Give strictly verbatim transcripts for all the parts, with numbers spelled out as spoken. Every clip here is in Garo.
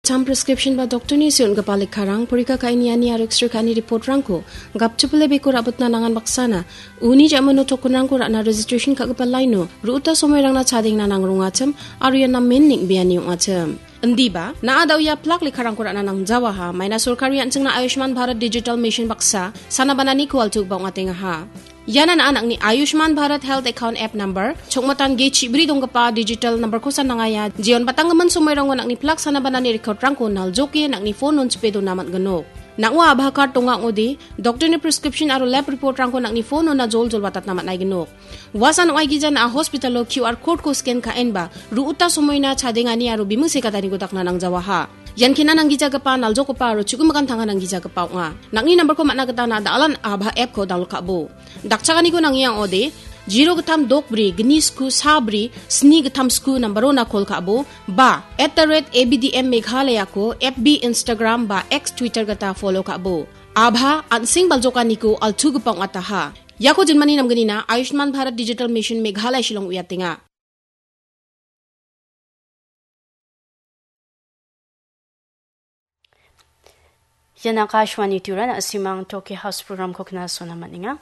Gittam prescription ba doktorni on·gipa lekkarang, porika ka·e niani aro X-ray ka·ani reportrangko gapchipile beko ra·bitna nangan baksana, uni ja·mano tokenrangko ra·na registration ka·gipa laino ru·uta somoirangna chadengna nangrongachim aro ia namen neng·beani ong·achim. Indiba, na·a da·o ia plak lekkarangko ra·na nangjawaha, maina sorkari an·chingna Ayushman Bharat Digital Mission baksa sana bananiko altugipa ong·atengaha. Iana na·a nang·ni Ayushman Bharat Health Account App Number, chokmatan ge chibri donggipa digital numberkosa nangaia, jeon batanggimin somoirango nang·ni plak sana banani recordrangko naljoke nang·ni phone on chipe dona man·ginok. Nang·o Abha card donga ong·ode, doktorni prescription aro lab reportrangko nang·ni phone ona joljol watatna man·aiginok. Uasan ong·aigija na·a hospitalo Q R codeko scan ka·enba, ru·uta somoina chadengani aro biming sekataniko dakna nangjawaha. Ian kena nanggijagipa, naljogipa aro chu·gimikan tanga nanggijagipa ong·a. Nang·ni nambarko man·a gita na·a da·alan Abha appko download ka·bo. Dakchakaniko nangiang ong·ode, zero gittam dok bri, gni sku sa bri, sni gittam sku nambarona call ka·bo, ba, at the rate A B D M Meghalayako F B, Instagram ba X, Twitter gita follow ka·bo. Abha, an·seng baljokaniko altugipa ong·ataha. Iako jinmani namgnina Ayushman Bharat Digital Mission Meghalaya Shillong uiatenga. Ian Akashvani Tura, na·simang Toki House programko knasona man·enga.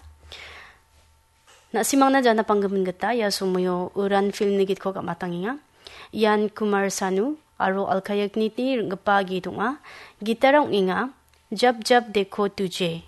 Na·simangna jana panggimin gita ia somoio Uran filmni gitko gam·atangenga. Ian Kumar Sanu aro Alka Yagnikni ring·gipa git ong·a. Gitara ong·enga Jab Jab Dekho Tujhe.